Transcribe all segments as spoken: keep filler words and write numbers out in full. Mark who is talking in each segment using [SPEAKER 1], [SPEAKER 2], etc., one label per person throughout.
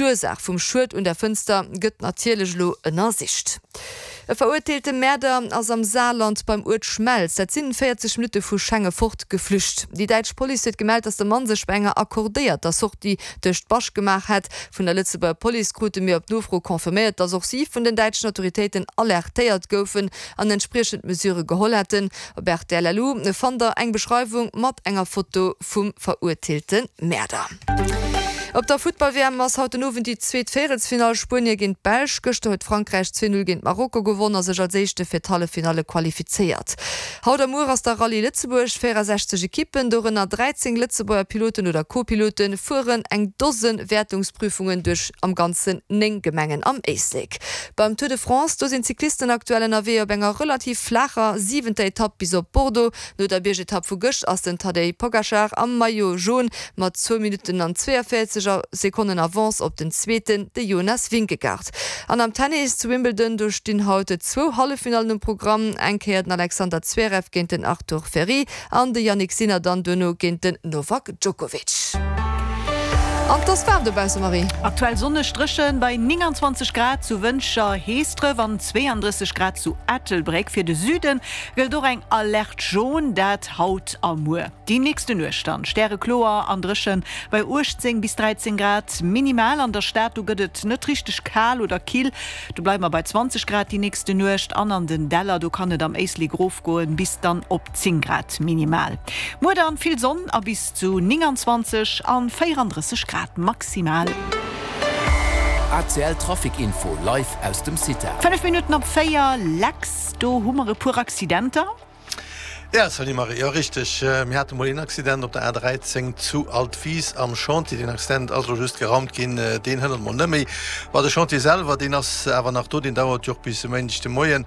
[SPEAKER 1] D'Ursaach vum Schued un der Fënster gëtt natierlech elo ënnersicht. E verurteelte Mäerder ass am Saarland beim Uert Schmelz, dat sinn véierzeg Minutte vu Schengen fort, geflücht. Déi däitsch Police huet gemellt, datt de Mann sech bei enger accordéierter Sortie duerch d'Bascht gemaach hätt. Vun der Lëtzebuerger Police krute mir op Nofro confirméiert, datt och si vun den däitschen Autoritéiten alertéiert goufen an entspriechend Mesure geholl hätten. Op rtl LU fannt der eng Beschreiwung mat enger Foto vum verurteelte Mäerder. Op der Futtball-W M ass haut den Owend déi zweet Véierelsfinall, Spuenie géint d'Belsch. Gëschter huet Frankräich zwee Null géint Marokko gewonn a sech als Éischte fir d'Halleffinalle qualifizéiert. Haut a muer ass da Rallye Lëtzebuerg. véierundsechzeg Ekippen, dorënner dräizéng Lëtzebuerger Piloten oder Co-Piloten, fueren eng Dose Wäertungsprüfungen duerch am Ganzen néng Gemengen am Éislek. Beim Tour de France, do sinn d'Cyclisten aktuell ënnerwee op enger relativ flaacher siwenter Etapp bis op Bordeaux. No der Biergetapp vu gëscht ass den Tadej Pogacar am Maillot Jaune mat zwou Minutten an zwéianvéierzeg Sekonnen Avance op den Zweeten, de Jonas Vingegaard. An am Tennis zu Wimbledon, do stinn haut zwou Halleffinallen um Programm, eng Kéier den Alexander Zverev géint den Arthur Fery an de Jannik Sinner dann duerno géint den Novak Djokovic. An et ass waarm dobausse, Marie.
[SPEAKER 2] Aktuell sonneg, dréchen bei nénganzwanzeg Grad zu Wëntger, Heesdref an zweeandrësseg Grad zu Ettelbréck. Fir de Süde gëllt och eng Alerte jaune, dat haut a muer. Déi nächste Nuecht dann stärekloer an dréchen bei uechtzéng bis dräizéng Grad minimal. An der Stad, do gëtt et net richteg kal oder kill, do bleiwe mer bei zwanzeg Grad déi nächste Nuecht. An an den Däller, do kann et am Éislek erofgoen bis dann op zéng Grad minimal. Muer dann vill Sonn a bis zu nénganzwanzeg an véierandrësseg Grad maximal.
[SPEAKER 3] A C L Trafic Info live aus dem Cita.
[SPEAKER 2] Fënnef Minutten op véier, Lex, do hu mer e puer Accidenter.
[SPEAKER 4] Ja, salut Marie, jo richteg, mir hate mol een Accident op der A dräizéng zu Altwis am Chantier. Deen Accident ass elo just geraumt ginn, deen hënnert mol net méi. Ma de Chantier selwer, deen ass awer nach do, deen dauert jo och bis e Méindeg de Moien.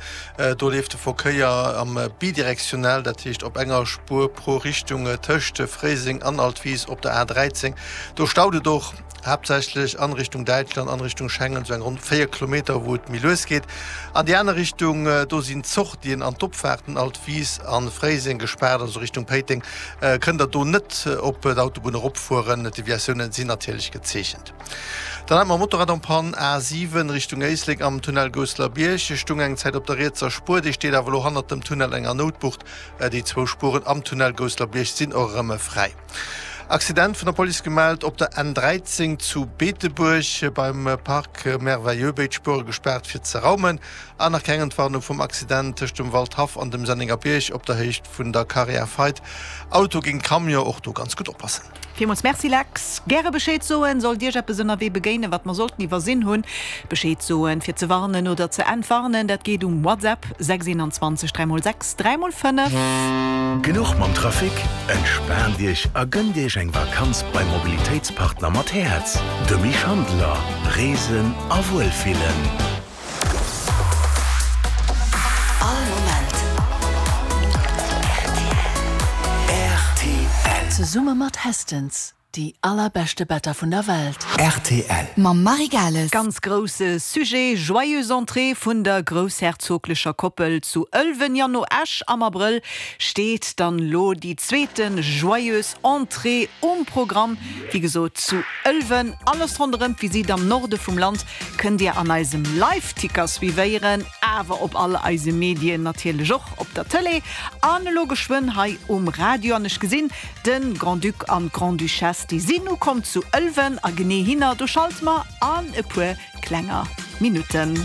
[SPEAKER 4] Do leeft de Verkéier am bidirektionell, dat heescht op enger Spuer pro Richtung tëscht Fréiseng an Altwis op der A dräizéng. Do staut et och haaptsächlech an Richtung Däitschland, an Richtung Schengen, sou eng ronn véier Kilometer, wou et méi lues geet. An déi aner Richtung, do sinn d'Sortien an d'Opfaarten Altwis a Fréiseng gespaart, also Richtung Péiteng kënnt der do net op d'Autobunn eropfueren. D'Deviatiounen sinn natierlech gezeechent. Dann hat mer e Motorrad en panne, A siwen Richtung Éislek am Tunnel Gousselerbierg stung eng Zäit op der rietser Spuer, déi steet awer elo hannert dem Tunnel enger Noutbucht. Déi zwou Spueren am Tunnel Gousselerbierg sinn och erëm fräi. Accident vun der Police gemellt op der N dräizéng zu Beetebuerg beim Parc Merveilleux, béid Spuere gespaart fir ze raumen. An nach keng Entwarnung vum Accident tëscht dem Waldhaff an dem Sennengerbierg op der Héicht vun der Carrière Feidt. Auto géint Camion, och do ganz gutt oppassen.
[SPEAKER 2] Villmools Merci Lex. Gäre Bescheed soen, sollt Iech eppes ënnerwee begéinen, wat mer sollten iwwersinn hunn. Bescheed soen, fir ze warnen oder ze entwarnen, dat geet um WhatsApp sechs einundzwanzeg dräi mol sechs dräi mol fënnef.
[SPEAKER 5] Genuch mam Trafic? Entspaant Iech a gënnt Iech eng Vakanz beim Mobilitéitspartner mat Häerz, de Mich Handeler. Reesen a Wuelfillen.
[SPEAKER 6] All Moment R T L.
[SPEAKER 7] Zesumme mat Hästens. Déi allerbeschte Better vun der Welt.
[SPEAKER 5] R T L.
[SPEAKER 6] Mam Marie Gales.
[SPEAKER 2] Ganz grousse Sujet, Joyeuse Entrée vun der groussherzoglecher Koppel zu Ëlwen. Jo, no Esch am Abrëll steet dann lo déi zweete Joyeuse Entrée um Programm, wéi gesot zu Ëlwen. Alles ronderëm d'Visitt am Norde vum Land kënnt Dir an eisem Live-Ticker suivéieren, awer op all eise Medien natierlech och op der Tëlee an elo geschwënn hei um Radio. An ech gesinn, de Grand-Duc an d'Grande-Duchesse, déi sinn ukomm zu Ëlwen a genee hinner, do schalte mer an e puer klenger Minutten.